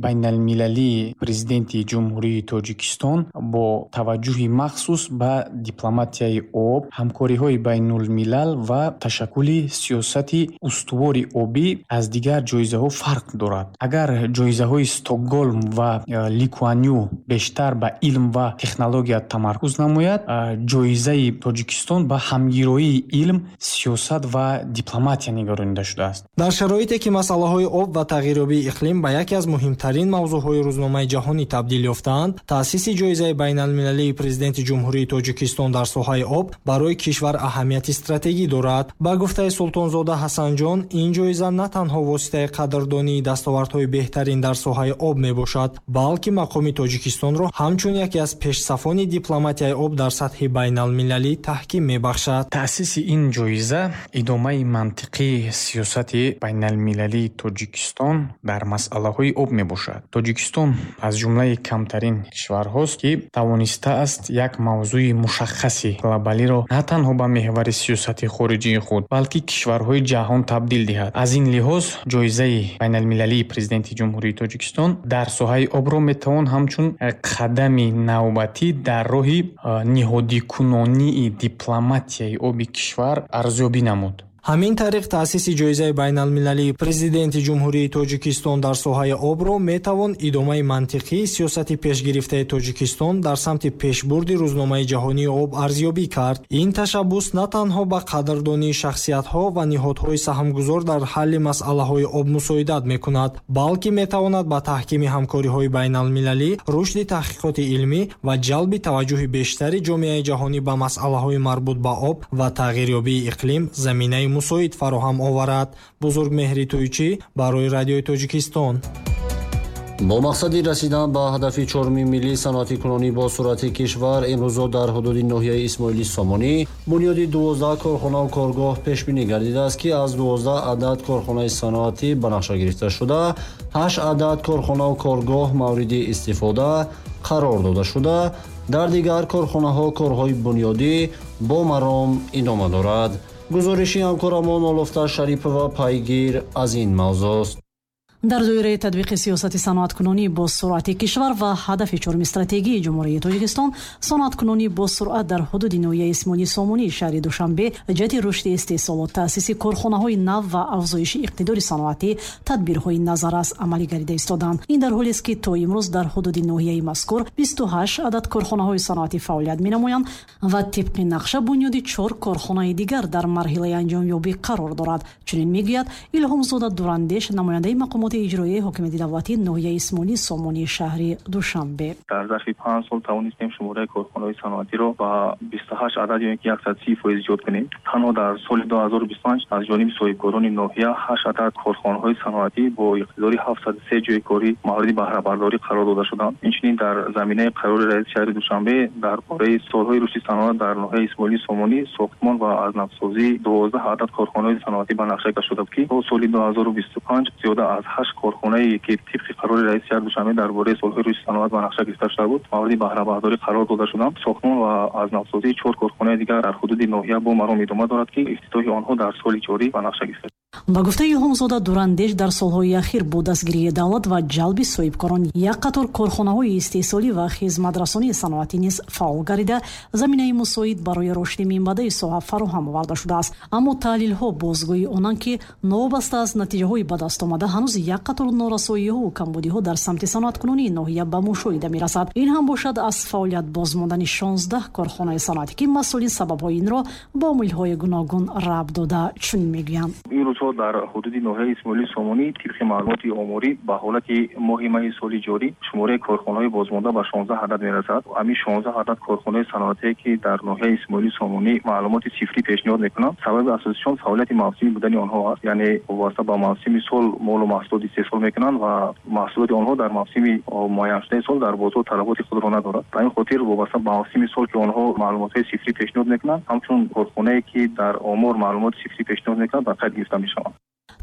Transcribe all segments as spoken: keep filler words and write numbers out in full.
Байналмилалии Президенти Ҷумҳурии Тоҷикистон бо таваҷҷӯҳи махсус ба дипломатияи об, ҳамкориҳои байнулмилал ва ташаккули сиёсати устувори обӣ аз дигар ҷоизаҳо фарқ дорад. Агар ҷоизаҳои Стокголм ва Ли Куан Ю бештар ба илм ва технология тамаркуз намояд, ҷоизаи Тоҷикистон ба ҳамгироии илм, сиёсат ва дипломатия нигаронида шудааст. Дар шароите ки масъалаҳои об ва тағйирёбии иқлим ба яке аз муҳимтарин мавзӯъҳои рӯзномаи ҷаҳонӣ табдил ёфтаанд, таъсиси ҷоизаи байналмилалии Президенти Ҷумҳурии Тоҷикистон дар соҳаи об барои кишвар аҳамияти стратегӣ дорад. Ба гуфтаи Султонзода Ҳасанҷон, ин ҷоиза на танҳо воситаи қадрдонии дастовардҳои беҳтарин дар соҳаи об мебошад, балки мақоми Тоҷикистонро ҳамчун яке аз пешсафони дипломатияи об дар сатҳи байналмилалӣ таҳким мебахшад. Таъсиси ин ҷоиза идомаи мантиқии сиёсати байналмилалии Тоҷикистон дар масъалаҳои об мебошад. Тоҷикистон аз ҷумлаи камтарин кишварҳост, ки тавонистааст як мавзӯи мушаххаси глобалиро на танҳо ба меҳвари сиёсати хориҷии худ, балки кишварҳои ҷаҳон табдил диҳад. Аз ин лиҳоз ҷоизаи байналмилалии Президенти Ҷумҳурии Тоҷикистон дар соҳаи обро метавон ҳамчун қадами навбатӣ дар роҳи ниҳодикунонии дипломатияи оби кишвар арзёбӣ намуд. Ҳамин тариқ, таъсиси ҷоизаи байналмилалии Президенти Ҷумҳурии Тоҷикистон дар соҳаи обро метавон идомаи мантиқии сиёсати пешгирифтаи Тоҷикистон дар самти пешбурди рӯзномаи ҷаҳонии об арзёбӣ кард. Ин ташаббус на танҳо ба қадрдонии шахсиятҳо ва ниҳодҳои саҳмгузор дар ҳалли масъалаҳои об мусоидат мекунад, балки метавонад ба таҳкими ҳамкориҳои байналмилалӣ, рушди таҳқиқоти илмӣ ва ҷалби таваҷҷӯҳи бештари ҷомеаи ҷаҳонӣ ба масъалаҳои марбут ба об ва тағйирёбии иқлим заминаи мусоид фароҳам оварад. Бузургмеҳри Тӯйчӣ барои Радиои Тоҷикистон. Бо мақсади расидан ба ҳадафи чоруми миллии саноатикунонӣ бо суръати кишвар, имрӯзо дар ҳудуди ноҳияи Исмоили Сомонӣ бунёди дувоздаҳ корхонаву коргоҳ пешбинӣ гардидааст, ки аз дувоздаҳ адад корхонаи саноатӣ ба нақша гирифта шуда, ҳашт адад корхонаву коргоҳ мавриди истифода қарор дода шуда, дар дигар корхонаҳо корҳои бунёдӣ бо маром идома дорад. Гузориши ҳамкорамон Олуфта Шарипова пайгир аз ин мавзӯст. Дар доираи татбиқи сиёсати саноаткунонӣ бо суръати кишвар ва ҳадафи чоруми стратегии Ҷумҳурии Тоҷикистон, саноаткунонӣ бо суръат дар ҳудуди ноҳияи Исмоили Сомонии шаҳри Душанбе ҷиҳати рушди истеҳсолот, таъсиси корхонаҳои нав ва афзоиши иқтидори саноатӣ тадбирҳои назаррас амалӣ гардида истоданд. Ин дар ҳолест, ки то имрӯз дар ҳудуди ноҳияи мазкур бисту ҳашт адад корхонаҳои саноатӣ фаъолият менамоянд ва тибқи нақша бунёди чор корхонаи дигар дар марҳилаи анҷомёбӣ қарор дорад. Чунин мегӯяд Илҳомзода Дурандеш, намояндаи мақомоти иҷроияи ҳокимияти давлатии ноҳияи Исмоили Сомонии шаҳри Душанбе. Дар зарфи панҷ сол тавонистем шумораи корхонаҳои саноатиро ба бисту ҳашт адад ё ки яксад си фоиз зиёд кунем. Танҳо дар соли ду ҳазору бисту панҷ аз ҷониби соҳибкорони ноҳия ҳашт адад корхонаҳои саноатӣ бо иқтидори ҳафтсаду се ҷойи корӣ мавриди баҳрабардорӣ қарор дода шуданд. Инчунин дар заминаи қарори раиси шаҳри Душанбе дар бораи солҳои рушди саноат дар ноҳияи Исмоили Сомонӣ сохтмон ва аз навсозии дувоздаҳ адад корхонаҳои саноатӣ ба нақша гирифта шуда буд, ки то соли ду ҳазору бисту панҷ зиёда аз ҳашт корхонае ки тибқи қарори раиси шаҳри Душанбе дар бораи солҳои рушди саноат ба нақша гирифта шуда буд, мавриди баҳрабардорӣ қарор дода шуданд. Сохтмон ва аз навсозии чор корхонаи дигар дар ҳудуди ноҳия бо маром идома дорад, ки ифтитоҳи онҳо дар соли ҷорӣ ба нақша гирифта. Ба гуфтаи Илҳомзода Дурандеш, дар солҳои ахир бо дастгирии давлат ва ҷалби соҳибкорон як қатор корхонаҳои истеҳсолӣ ва хизматрасонии саноатӣ низ фаъол гардида, заминаи мусоид барои рушди минбаъдаи соҳа фароҳам оварда шудааст. Аммо таҳлилҳо бозгӯи онанд, ки новобаста аз натиҷаҳои ба даст омада, ҳанӯз як қатор норасоиҳову камбудиҳо дар самти саноаткунонии ноҳия ба мушоҳида мерасад. Ин ҳам бошад аз фаъолият бозмондани шонздаҳ корхонаи саноатӣ, ки масъулин сабабҳои инро бо омилҳои гуногун рабт дода чунин мегӯянд. Дар ҳудуди ноҳияи Исмоили Сомонӣ тибқи маълумоти оморӣ ба ҳолати моҳи майи соли ҷорӣ шумораи корхонаҳои бозмонда ба шонздаҳ адад мерасад. Ҳамин шонздаҳ адад корхонаи саноатие ки дар ноҳияи Исмоили Сомонӣ маълумоти сифрӣ пешниҳод мекунанд, сабаби асосишон фаъолияти мавсимӣ будани онҳо аст. Яъне вобаста ба мавсими сол молу маҳсулот истеҳсол мекунанд ва маҳсулоти онҳо дар мавсими муайяншудаи сол дар бозор талаботи худро надорад. Ба ин хотир вобаста ба мавсими сол ки онҳо маълумотҳои сифрӣ пешниҳод мекунанд, ҳамчун корхонае ки дар омор маълумоти сифрӣ пешниҳод мекунанд, ба қайд гирифта мешаванд.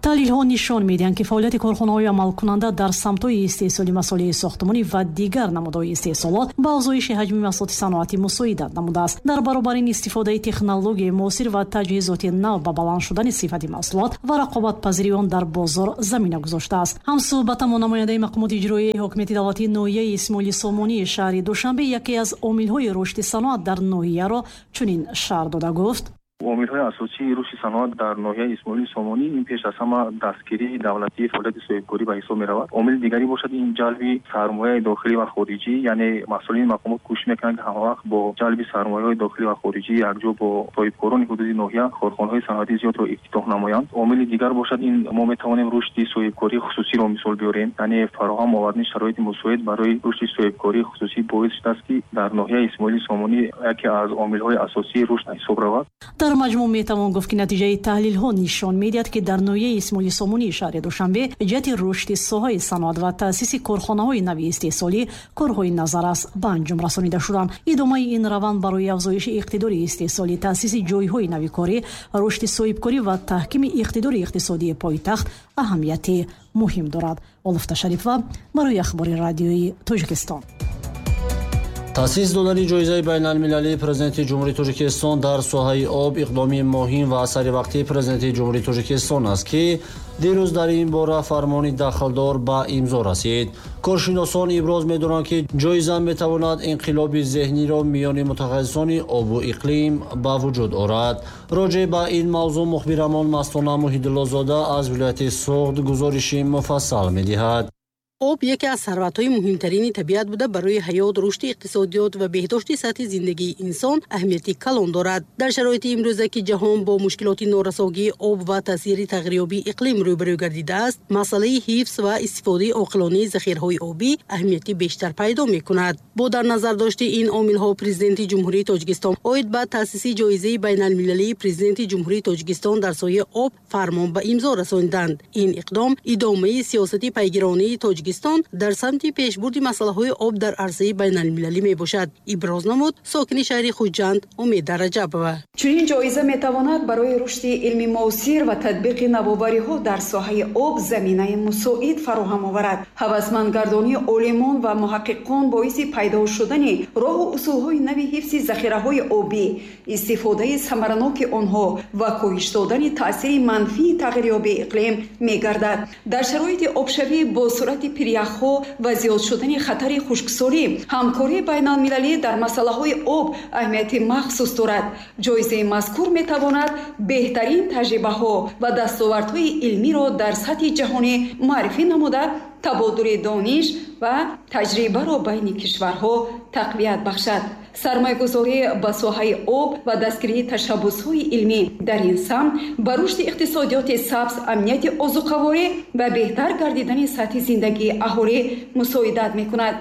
Таҳлилҳо нишон медиҳанд, ки фаъолияти корхонаҳои амалкунанда дар самтҳои истеҳсоли масолеҳи сохтмонӣ ва дигар намудҳои истеҳсолот ба афзоиши ҳаҷми маҳсулоти саноатӣ мусоидат намудааст. Дар баробари ин, истифодаи технологияи муосир ва таҷҳизоти нав ба баланд шудани сифати маҳсулот ва рақобатпазирии он дар бозор замина гузоштааст. Ҳамсӯҳбатамо намояндаи мақомоти иҷроияи ҳокимияти давлатии ноҳияи Исмоили Сомонии шаҳри Душанбе яке аз омилҳои рушди саноат дар ноҳияро чунин шарҳ дода гуфт: Омилҳои асосии рушди саноат дар ноҳияи Исмоили Сомонӣ ин пеш аз ҳама дастгирии давлатии фаъолияти соҳибкорӣ ба ҳисоб меравад. Омили дигаре бошад ин ҷалби сармояи дохилӣ ва хориҷӣ, яъне масъулини мақомот кӯшиш мекунанд, ки ҳамавақт бо ҷалби сармояҳои дохилӣ ва хориҷӣ якҷо бо соҳибкорони ҳудуди ноҳия корхонаҳои саноатии зиёдро ифтитоҳ намоянд. Омили дигар бошад ин мо метавонем рушди соҳибкории хусусиро мисол биёрем, яъне фароҳам овардани шароити мусоид барои рушди соҳибкории хусусӣ боис шудааст, ки дар ноҳияи Исмоили Сомонӣ яке аз омилҳои асосии рушд ҳисоб равад. Дар маҷмӯъ метавон гуфт, ки натиҷаи таҳлилҳо нишон медиҳад, ки дар ноҳияи Исмоили Сомонии шаҳри Душанбе ҷиҳати рушди соҳаи саноат ва таъсиси корхонаҳои нави истеҳсолӣ корҳои назаррас ба анҷом расонида шуданд. Идомаи ин раванд барои афзоиши иқтидори истеҳсолӣ, таъсиси ҷойҳои нави корӣ, рушди соҳибкорӣ ва таҳкими иқтидори иқтисодии пойтахт аҳамияти муҳим дорад. Олуфта Шарифова барои Ахбори радиои Тоҷикистон. Таъсис додани ҷоизаи байналмилалии Президенти Ҷумҳурии Тоҷикистон дар соҳаи об иқдоми муҳим ва саривақтии Президенти Ҷумҳурии Тоҷикистон аст, ки дирӯз дар ин бора фармони дахлдор ба имзо расид. Коршиносон иброз медоранд, ки ҷоиза метавонад инқилоби зеҳниро миёни мутахассисони обу иқлим ба вуҷуд орад. Роҷеъ ба ин мавзӯъ мухбирамон Мастона Муҳиддуллозода аз вилояти Суғд гузориши муфассал медиҳад. Об яке аз сарватҳои муҳимтарини табиат буда, барои ҳаёт, рушди иқтисодиёт ва беҳдошти сатҳи зиндагии инсон аҳамияти калон дорад. Дар шароити имрӯза, ки ҷаҳон бо мушкилоти норасогии об ва таъсири тағйирёбии иқлим рӯбарӯ гардидааст, масъалаи ҳифз ва истифодаи оқилонаи захираҳои обӣ аҳамияти бештар пайдо мекунад. Бо дар назар дошти ин омилҳо, Президенти Ҷумҳурии Тоҷикистон оид ба таъсиси ҷоизаи байналмилалии Президенти Ҷумҳурии Тоҷикистон дар соҳаи об фармон ба имзо расониданд. Ин иқдом идомаи сиёсати пайгиронии Тоҷикистон дар самти пешбурди масъалаҳои об дар арсаи байналмилалӣ мебошад, иброз намуд сокини шаҳри Хуҷанд Умеда Раҷабова. Чунин ҷоиза метавонад барои рушди илми муосир ва татбиқи навовариҳо дар соҳаи об заминаи мусоид фароҳам оварад. Ҳавасмандгардонии олимон ва муҳаққиқон боиси пайдо шудани роҳу усулҳои нави ҳифзи захираҳои обӣ, истифодаи самараноки онҳо ва коҳиш додани таъсири манфии тағйирёбии иқлим мегардад. Дар шароити обшавӣ бо суръати пиряхҳо ва зиёд шудани хатари хушксолӣ, ҳамкории байналмилалӣ дар масъалаҳои об аҳамияти махсус дорад. Ҷоизаи мазкур метавонад беҳтарин таҷрибаҳо ва дастовардҳои илмиро дар сатҳи ҷаҳонӣ муаррифӣ намуда, табодули дониш ва таҷрибаро байни кишварҳо тақвият бахшад. Сармоягузорӣ ба соҳаи об ва дастгирии ташаббусҳои илмӣ дар ин самт ба рушди иқтисодиёти сабз, амнияти озуқаворӣ ва беҳтар гардидани сатҳи зиндагии аҳолӣ мусоидат мекунад.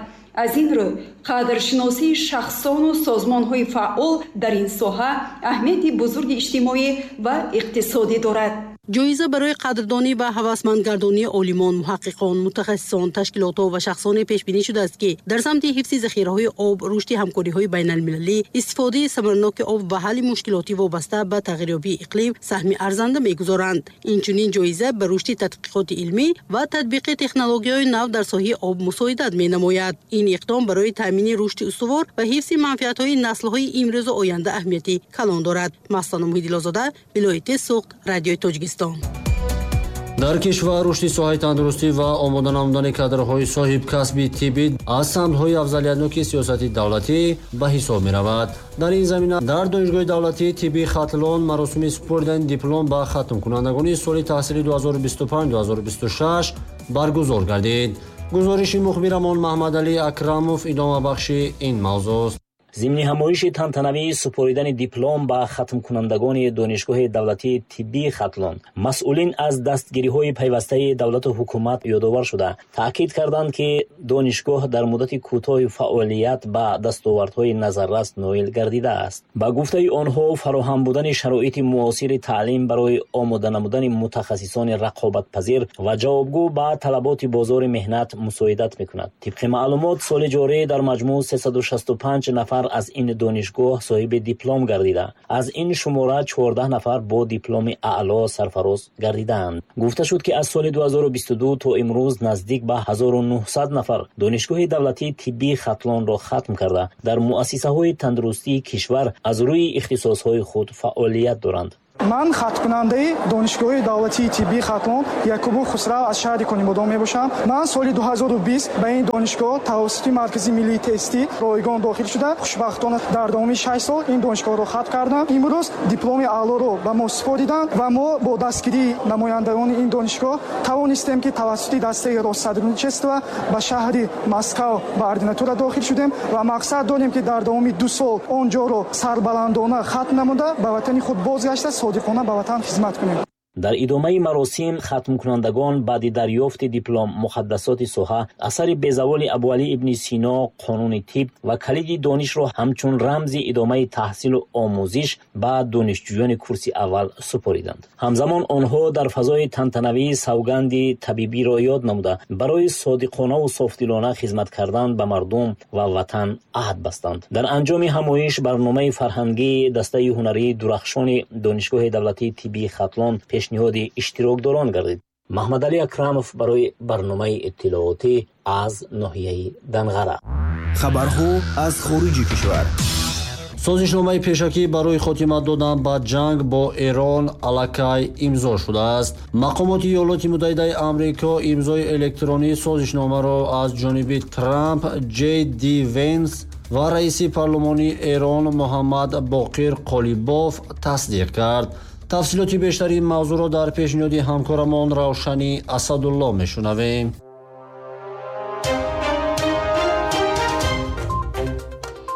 Аз ин рӯ, қадршиносии шахсону созмонҳои фаъол дар ин соҳа аҳамияти бузурги иҷтимоӣ ва иқтисодӣ дорад. Ҷоиза барои қадрдонӣ ва ҳавасмандгардонии олимон, муҳаққиқон, мутахассисон, ташкилотҳо ва шахсоне пешбинӣ шудааст, ки дар самти ҳифзи захираҳои об, рушди ҳамкориҳои байналмилалӣ, истифодаи самараноки об ва ҳалли мушкилоти вобаста ба тағйирёбии иқлим саҳми арзанда мегузоранд. Инчунин ҷоиза ба рушди тадқиқоти илмӣ ва татбиқи технологияҳои нав дар соҳаи об мусоидат менамояд. Ин иқдом барои таъмини рушди устувор ва ҳифзи манфиатҳои наслҳои имрӯзу оянда аҳамияти калон дорад. Мастона Муҳиддилозода, вилояти Суғд, Радиои Тоҷикистон. Дар кишвар рушди соҳаи тандурустӣ ва омода намудани кадрҳои соҳибкасби тиббӣ аз самтҳои афзалиятноки сиёсати давлатӣ ба ҳисоб меравад. Дар ин замина дар Донишгоҳи давлатии тиббии Хатлон маросими супоридани диплом ба хатмкунандагони соли таҳсили ду ҳазору бисту панҷ ду ҳазору бисту шаш баргузор гардид. Гузориши мухбирамон Маҳмадалӣ Акрамов идомабахши ин мавзӯъст. Зимни ҳамоиши тантанавии супоридани диплом ба хатмкунандагони Донишгоҳи давлатии тиббии Хатлон, масъулин аз дастгириҳои пайвастаи давлату ҳукумат ёдовар шуда, таъкид карданд, ки донишгоҳ дар муддати кӯтоҳи фаъолият ба дастовардҳои назаррас ноил гардидааст. Ба гуфтаи онҳо, фароҳам будани шароити муосири таълим барои омода намудани мутахассисони рақобатпазир ва ҷавобгӯ ба талаботи бозори меҳнат мусоидат мекунад. Тибқи маълумот, соли ҷорӣ дар маҷмӯъ сесаду шасту панҷ нафар нафар аз ин донишгоҳ соҳиби диплом гардида, аз ин шумора чордаҳ нафар бо дипломи аъло сарфароз гардидаанд. Гуфта шуд, ки аз соли ду ҳазору бисту ду то имрӯз наздик ба ҳазору нуҳсад нафар Донишгоҳи давлатии тиббии Хатлонро хатм карда, дар муассисаҳои тандурустии кишвар аз рӯи ихтисосҳои худ фаъолият доранд. Ман хатмкунандаи Донишгоҳи давлатии тиббии Хатлон Якубов Хусрав аз шаҳри Конибодом мебошам. Ман соли ду ҳазору бист ба ин донишгоҳ тавассути Маркази миллии тестӣ ройгон дохил шуда, хушбахтона дар давоми шаш сол ин донишгоҳро хатм кардам. Имрӯз дипломи аълоро ба мо супориданд ва мо бо дастгирии намояндагони ин донишгоҳ тавонистем, ки тавассути дастаи Россотрудничества ба шаҳри Москав ба ординатура дохил шудем ва мақсад дорем, ки дар давоми ду сол он ҷоро сарбаландона хатм намуда, ба ватани худ бозгашта содиқона ба ватан хизмат кунем. Дар идомаи маросим хатмкунандагон баъди дарёфти диплом муқаддасоти соҳа, асари безаволи Абуалӣ ибни Сино, қонуни тиб ва калиди донишро ҳамчун рамзи идомаи таҳсилу омӯзиш ба донишҷӯёни курси аввал супориданд. Ҳамзамон онҳо дар фазои тантанавии савганди табибиро ёд намуда, барои содиқонаву софдилона хизмат кардан ба мардум ва ватан аҳд бастанд. Дар анҷоми ҳамоиш барномаи фарҳангии дастаи ҳунарии дурахшони Донишгоҳи давлатии тиббии Хатлон пешниҳоди иштирокдорон гардид. Маҳмадалӣ Акрамов барои барномаи иттилоотӣ аз ноҳияи Данғара. Хабарҳо аз хориҷи кишвар. Созишномаи пешакӣ барои хотима додан ба ҷанг бо Эрон аллакай имзо шудааст. Мақомоти Иёлоти Муттаҳидаи Амрико имзои электронии созишномаро аз ҷониби Трамп, Ҷей Ди Венс ва раиси парлумони Эрон Муҳаммад Боқир Қолибоф тасдиқ кард. Тафсилоти бештари ин мавзӯъро дар пешниҳоди ҳамкорамон Равшани Асадулло мешунавем.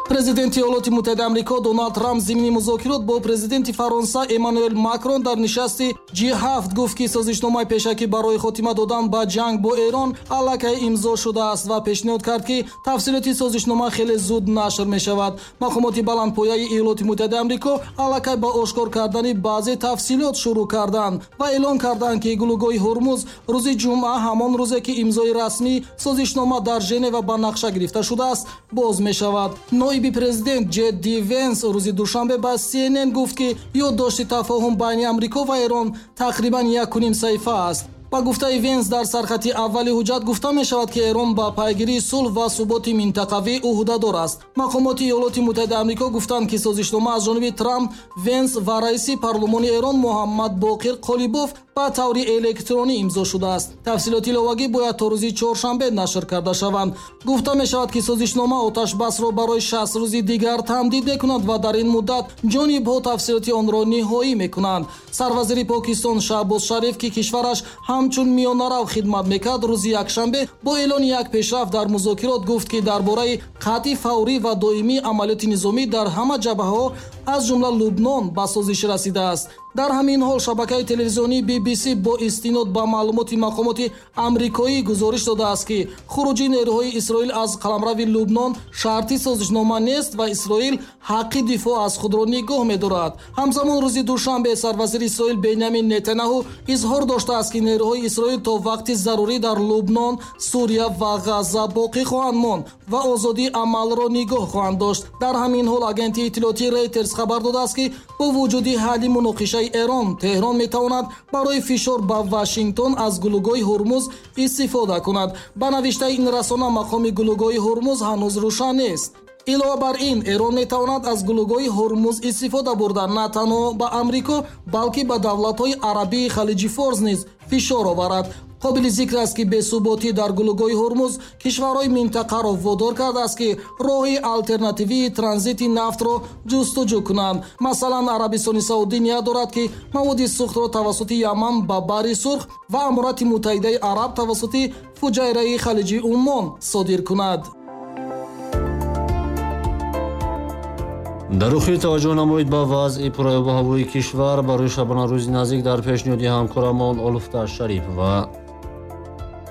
Президенти Иёлоти Муттаҳидаи Амрико Доналд Трамп зимни музокирот бо президенти Фаронса Эммануэл Макрон дар нишасти Ҷи ҳафт гуфт, ки созишномаи пешакӣ барои хотима додан ба ҷанг бо Эрон аллакай имзо шудааст ва пешниҳод кард, ки тафсилоти созишнома хеле зуд нашр мешавад. Мақомоти баландпояи Иёлоти Муттаҳидаи Амрико аллакай ба ошкор кардани баъзе тафсилот шурӯъ карданд ва эълон карданд, ки гулӯгоҳи Ҳурмуз рӯзи ҷумъа, ҳамон рӯзе ки имзои расмии созишнома дар Женева ба нақша гирифта шудааст, боз мешавад. Ноиби президент Ҷей Ди Венс рӯзи душанбе ба Си Эн Эн гуфт, ки ёддошти тафоҳум байни Амрико ва Эрон тақрибан якуним саҳифа аст. Ба гуфтаи Венс, дар сархати аввали ҳуҷҷат гуфта мешавад, ки Эрон ба пайгирии сулҳ ва суботи минтақавӣ ӯҳдадор аст. Мақомоти Иёлоти Муттаҳидаи Амрико гуфтанд, ки созишнома аз ҷониби Трамп, Венс ва раиси парлумони Эрон Муҳаммад Боқир Қолибоф ба таври электронӣ имзо шудааст. Тафсилоти иловагӣ бояд то рӯзи чоршанбе нашр карда шаванд. Гуфта мешавад, ки созишнома оташбасро барои шаст рӯзи дигар тамдид мекунад ва дар ин муддат ҷонибҳо тафсилоти онро ниҳоӣ мекунанд. Сарвазири Покистон Шаҳбоз Шариф, ки кишвараш ҳамчун миёнарав хидмат мекард, рӯзи якшанбе бо эълони як пешрафт дар музокирот гуфт, ки дар бораи қатъи фаврӣ ва доимии амалиёти низомӣ дар ҳама ҷабҳаҳо аз ҷумла Лубнон ба созиш расидааст. Дар ҳамин ҳол шабакаи телевизионии Би Би Си бо истинод ба маълумоти мақомоти амрикоӣ гузориш додааст, ки хуруҷи нерӯҳои Исроил аз қаламрави Лубнон шарти созишнома нест ва Исроил ҳаққи дифоъ аз худро нигоҳ медорад. Ҳамзамон рӯзи душанбе сарвазири Исроил Бенямин Нетаняҳу изҳор доштааст, ки нерӯҳои Исроил то вақти зарурӣ дар Лубнон, Сурия ва Ғазза боқӣ хоҳанд монд ва озодии амалро нигоҳ хоҳанд дошт. Дар ҳамин ҳол агентии иттилоотии Рейтерс хабар додааст, ки бо вуҷуди ҳалли муноқишаи Эрон, Теҳрон метавонад барои фишор ба Вашингтон аз гулӯгоҳи Ҳурмуз истифода кунад. Ба навиштаи ин расона, мақоми гулӯгоҳи Ҳурмуз ҳанӯз рӯшан нест. Илова бар ин, Эрон метавонад аз гулӯгоҳи Ҳурмуз истифода бурда на танҳо ба Амрико, балки ба давлатҳои арабии Халиҷи Форс низ фишор оварад. Қобили зикр аст, ки бесуботӣ дар гулӯгоҳи Ҳурмуз кишварҳои минтақаро водор кардааст, ки роҳи алтернативии транзити нафтро ҷустуҷӯ кунанд. Масалан, Арабистони Саудӣ ният дорад, ки маводи сӯхтро тавассути Яман ба Баҳри Сурх ва Аморати Муттаҳидаи Араб тавассути Фуҷайраи Халиҷи Уммон содир кунад. Дар охир таваҷҷӯҳ намоед ба вазъи пурайобу ҳавои кишвар барои шабонарӯзи наздик дар пешниҳоди ҳамкорамон Олуфта Шарипова.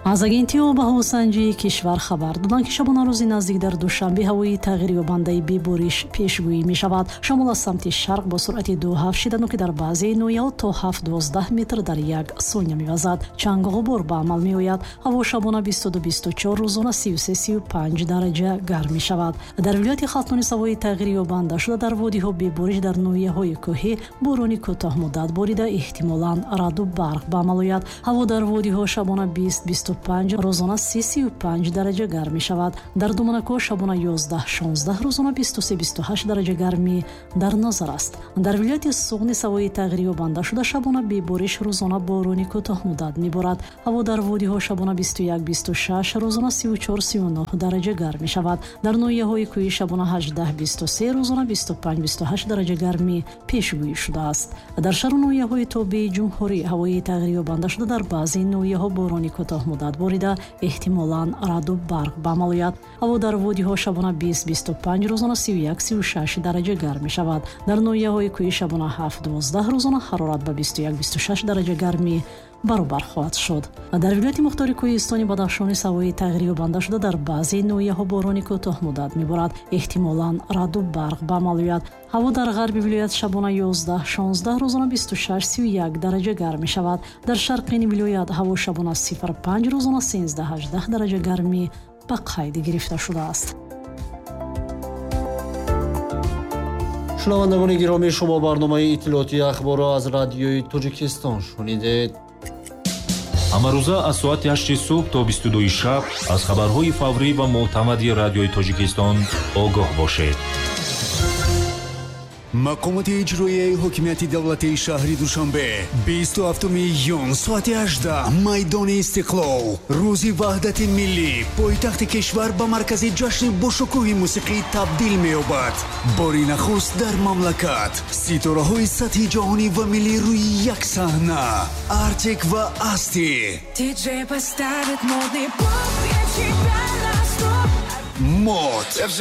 Аз агентии обҳавосанҷии кишвар хабар доданд, ки шабонарӯзи наздик дар Душанбе ҳавои тағйирёбандаи бебориш пешгӯӣ мешавад. Шамол аз самти шарқ бо суръати ду ҳафт шиданок дар баъзе ноҳияҳо то ҳафт дувоздаҳ метр дар як сония мевазад. Чангу ғубор ба амал меояд. Ҳаво шабона бисту ду бисту чор, рӯзона сию се сию панҷ дараҷа гарм мешавад. Дар вилояти Хатлон ҳавои тағйирёбанда шуда, дар водиҳо бебориш, дар ноҳияҳои кӯҳӣ борони кӯтоҳмуддат борида, эҳтимолан раъду барқ ба амал ояд. Ҳаво дар водиҳо шабона бист бисту панҷ, рӯзона си сию панҷ дараҷа гарм мешавад. Дар Думанакҳо шабона ёздаҳ шонздаҳ, рӯзона бисту се бисту ҳашт дараҷа гармӣ дар назар аст. Дар вилояти Суғд ҳавои тағйирёбанда шуда, шабона бебориш, рӯзона борони кӯтоҳмуддат меборад. Ҳаво дар водиҳо шабона бисту як бисту шаш, рӯзона сию чор сию нӯҳ дараҷа гарм мешавад. Дар ноҳияҳои кӯҳӣ шабона ҳаждаҳ бисту се, рӯзона бисту панҷ бисту ҳашт дараҷа гармӣ пешгӯӣ шудааст. Дар шаҳру ноҳияҳои тобеи ҷумҳурӣ ҳавои тағйирёбанда шуда, дар баъзе ноҳияҳо борони кӯтоҳмуддат борида, эҳтимолан раъду барқ ба амал ояд. Ҳаво дар водиҳо шабона бист бисту панҷ, рӯзона сию як сию шаш дараҷа гарм мешавад. Дар ноҳияҳои кӯҳӣ шабона ҳафт дувоздаҳ, рӯзона ҳарорат ба бисту як бисту шаш дараҷа гармӣ баробар хоҳад шуд. Дар вилояти мухтори кӯҳистони Бадахшон ҳавои тағйирёбанда шуда, дар баъзе ноҳияҳо борони кӯтоҳмуддат меборад, эҳтимолан раъду барқ ба амал ояд. Ҳаво дар ғарби вилоят шабона ёздаҳ шонздаҳ, рӯзона бисту шаш сию як дараҷа гарм мешавад. Дар шарқи ин вилоят ҳаво шабона сифр панҷ, рӯзона сенздаҳ ҳаждаҳ дараҷа гармӣ ба қайд гирифта шудааст. Шунавандагони гиромӣ, шумо барномаи иттилоотии ахборро аз радиои Тоҷикистон шунидед. Ҳамарӯза аз соати ҳашти субҳ то бисту дуи шаб аз хабарҳои фаврӣ ва мӯътамади радиои Тоҷикистон огоҳ бошед. Мақомоти иҷроияи ҳокимияти давлатии шаҳри Душанбе бисту ҳафтуми июн соати ҳаждаҳ майдони Истиқлол, рӯзи ваҳдати миллӣ, пойтахти кишвар ба маркази ҷашни бошукӯҳи мусиқӣ табдил меёбад. Бори нахуст дар мамлакат ситораҳои сатҳи ҷаҳонӣ ва миллӣ рӯи як саҳна. Артик ва Асти, Мод,